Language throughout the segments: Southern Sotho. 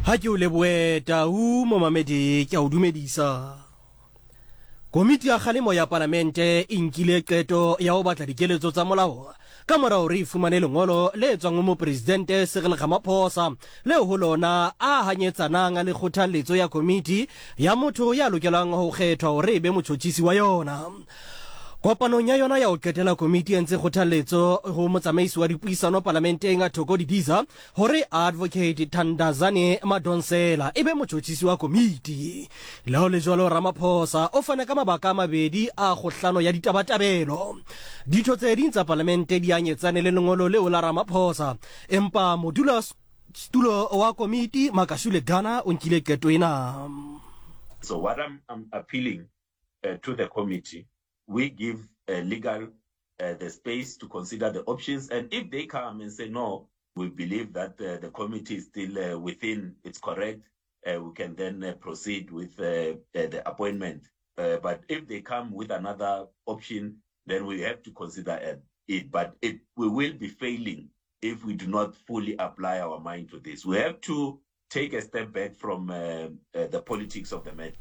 Ha ke o lebohe Tau momamedi ke a o dumedisa. Komiti ya kgalemo ya palamente e nkile qeto ya ho batla dikeletso tsa molao ka mora hore e fumane lengolo le tswang ho Mopresidente Cyril Ramaphosa leo ho lona a hanyetsanang le kgothalletso ya komiti ya motho ya lokelang ho kgethwa hore e be motjhotjhisi wa yona. Kopanong ya yona ya ho qetela komiti e entse kgothalletso ho motsamaisi wa dipuisano palamenteng Thoko Didiza hore Advocate Thandazani Madonsela e be motjhotjhisi wa komiti. Le ha ho le jwalo, Ramaphosa o fane ka mabaka a mabedi a kgohlano ya ditabatabelo. Ditho tse ding tsa palamente di anyetsane le lengolo leo la Ramaphosa, empa modulasetulo wa komiti Makashule Gana o nkile qeto ena. So what I'm, I'm appealing uh, to the committee, we give uh, legal uh, the space to consider the options. And if they come and say, no, we believe that uh, the committee is still uh, within its correct, uh, we can then uh, proceed with uh, the appointment. Uh, but if they come with another option, then we have to consider it. But it, we will be failing if we do not fully apply our mind to this. We have to take a step back from uh, uh, the politics of the matter.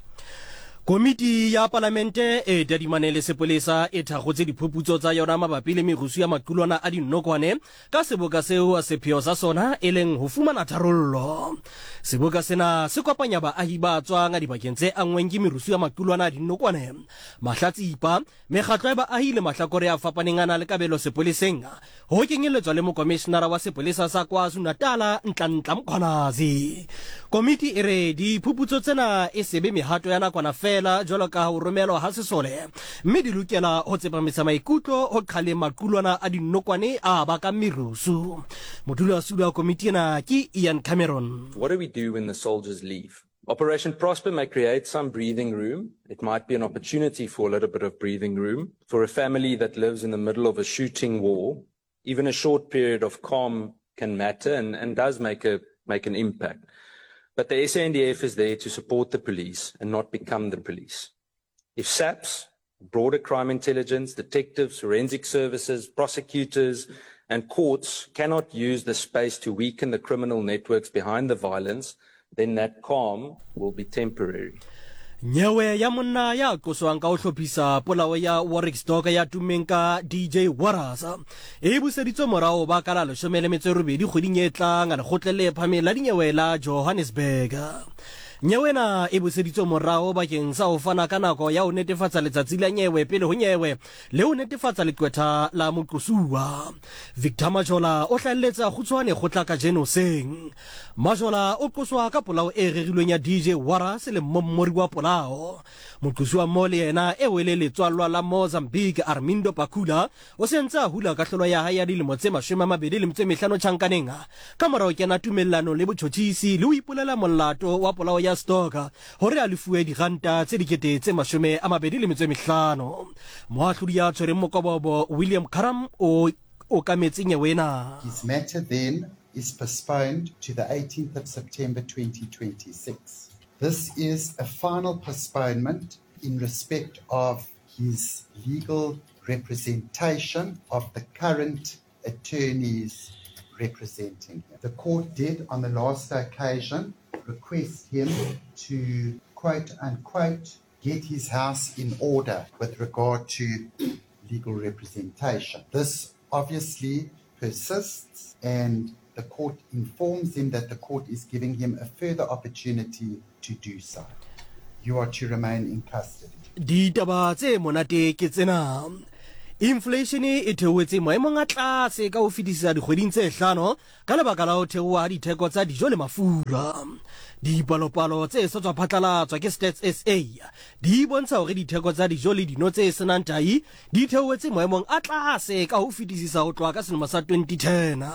Komiti ya Palamente e tadimane le sepolesa e thakgotse diphuputso tsa yona mabapi le merusu ya maqulwana a dinokwane ka seboka seo sepheo sa sona e leng ho fumana tharollo. Seboka sena se kopanya baahi ba tswang dibakeng tse anngweng ke merusu ya maqulwana a dinokwane, mahlatsipa, Mekgatlo ya baahi le mahlakore a fapaneng a na le kabelo sepoleseng, ho kenyelletswa le mokomishenara wa sepolesa sa KwaZulu-Natala, Nhlanhla Mkhwanazi. Komiti e re diphuputso tsena e se be mehato ya nakwana feela jwalo ka ho romelwa ha sesole, mme di lokela ho tsepamisa maikutlo ho qhaleng maqulwana a dinokwane a bakang merusu. Modulasetulo wa komiti ena ke Ian Cameron. What do we do when the soldiers leave? Operation Prosper may create some breathing room. It might be an opportunity for a little bit of breathing room. For a family that lives in the middle of a shooting war, even a short period of calm can matter and, and does make, a, make an impact. But the SANDF is there to support the police and not become the police. If SAPS, broader crime intelligence, detectives, forensic services, prosecutors, and courts cannot use the space to weaken the criminal networks behind the violence, then that calm will be temporary. Nyewe ya monna ya qoswang ka ho hlophisa polao ya Warwick Stock ya tummeng ka DJ Warras e buseditswe morao ba ka la 18 kgweding e tlang lekgotleng le phahameng la dinyewe la Johannesburg. Nyewe ena e buseditswe morao bakeng sa ho fana ka nako ya ho netefatsa letsatsi la nyewe pele ho nyewe le ho netefatsa leqwetha la moqosuwa. Victor Majola o hlahelletse a kgutshwane kgotla kajeno hoseng. Majola o qoswa ka polao e rerilweng ya DJ Warras le mmommori wa polao. Moqosuwa mmoho le yena eo e le letswallwa la Mozambique Armindo Pacula o se ntse a hula kahlolo ya hae ya dilemo tse 25 tjhankaneng ka mora ho kena tumellanong le botjhotjhisi le ho ipolela molato wa polao ya Stoker hore a lefuwe diranta tse 25,000. Moahlodi ya tshwereng mokobobo William Karam o okametse nyewe ena. His matter then is postponed to the 18th of September 2026. This is a final postponement in respect of his legal representation of the current attorneys representing him. The court did on the last occasion request him to quote unquote get his house in order with regard to legal representation. This obviously persists and the court informs him that the court is giving him a further opportunity to do so. You are to remain in custody. Ditaba tse monate ke tsena. Inflation e theohetse maemong a tlase ka ho fetisisa dikgweding tse hlano ka lebaka la ho theoha ha ditheko tsa dijo le mafura. Dipalopalo tse sa tswa phatlalatswa ke Stats SA di bontsha hore ditheko tsa dijo le dino tse senang tahi di theohetse maemong a tlase ka ho fetisisa ho tloha ka selemo sa 2010.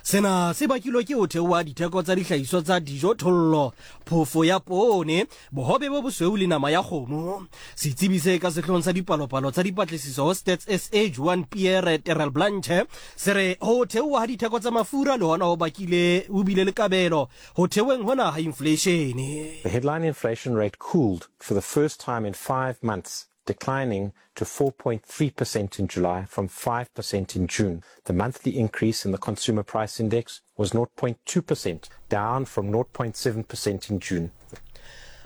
Sena se bakilwe ke ho theoha ha ditheko tsa dihlahiswa tsa dijo thollo, phofo ya poone, bohobe bo bosweu le nama ya kgomo. Setsebi se ka sehloohong sa dipalopalo tsa dipatlisiso ho Stats SA Juan Pierre Terrelblanche se re ho theoha ha ditheko tsa mafura le hona ho bakile ho bile le kabelo ho theoheng hona ha infleishene. The headline inflation rate cooled for the first time in five months. declining to 4.3% in July from 5% in June. The monthly increase in the Consumer Price Index was 0.2%, down from 0.7% in June.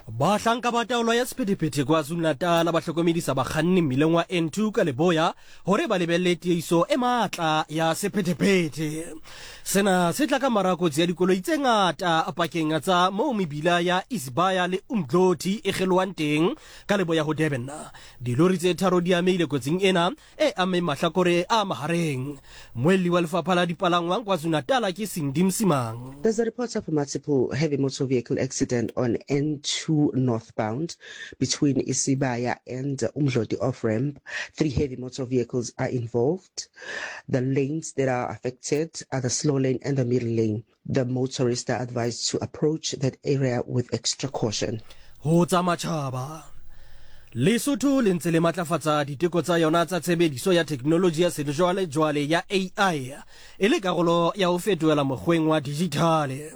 Bahlanka ba taolo ya sephethephethe KwaZulu-Natal ba hlokomedisa bakganni mmileng wa N2 ka leboya hore ba lebelle tieiso e matla ya sephethephethe. Sena se tla ka mora kotsi ya dikoloi tse ngata pakeng tsa moo mebila ya Isibaya le Umdloti e kgelohang teng ka leboya ho Durban. Dilori tse tharo di amehile kotsing ena e ammeng mahlakore a mahareng. Mmuelli wa lefapha la dipalangwang KwaZulu-Natal ke Cindy Msimang. There's a report of a multiple heavy motor vehicle accident on N2 northbound between Isibaya and Umdloti off-ramp. 3 heavy motor vehicles are involved. The lanes that are affected are the slow lane and the middle lane. The motorists are advised to approach that area with extra caution. Ho tsa matjhaba, Lesotho le ntse le matlafatsa diteko tsa yona tsa tshebediso ya theknoloji ya sejwalejwale ya AI e le karolo ya ho fetohela mokgweng wa dijithale.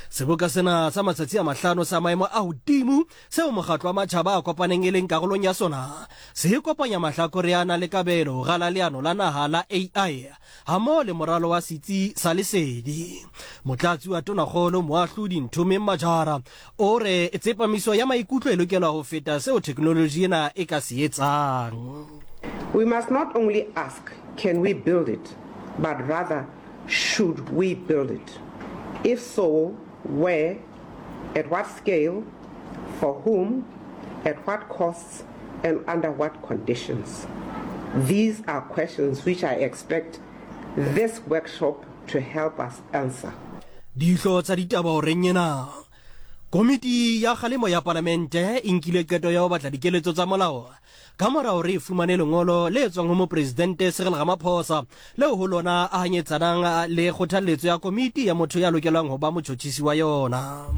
Seboka sena sa matsatsi a mahlano sa maemo a hodimo seo Mokgatlo wa Matjhaba a Kopaneng e leng karolong ya sona se kopanya mahlakore a nang le kabelo ho rala leano la naha la AI hammoho le moralo wa setsi sa lesedi. Motlatsi wa Tonakgolo Moahlodi Nthomeng Majara o re tsepamiso ya maikutlo e lokela ho feta seo theknoloji ena e ka se etsang. We must not only ask, can we build it, but rather, should we build it? If so, where, at what scale, for whom, at what costs, and under what conditions? These are questions which I expect this workshop to help us answer. Dihlo tsa ditaba horeng ena. Komiti ya kgalemo ya Palamente e nkile qeto ya ho batla dikeletso tsa molao ka mora hore e fumane lengolo le tswang ho Mopresidente Cyril Ramaphosa leo ho lona a hanyetsanang le kgothalletso ya komiti ya motho ya lokelwang ho ba motjhotjhisi wa yona.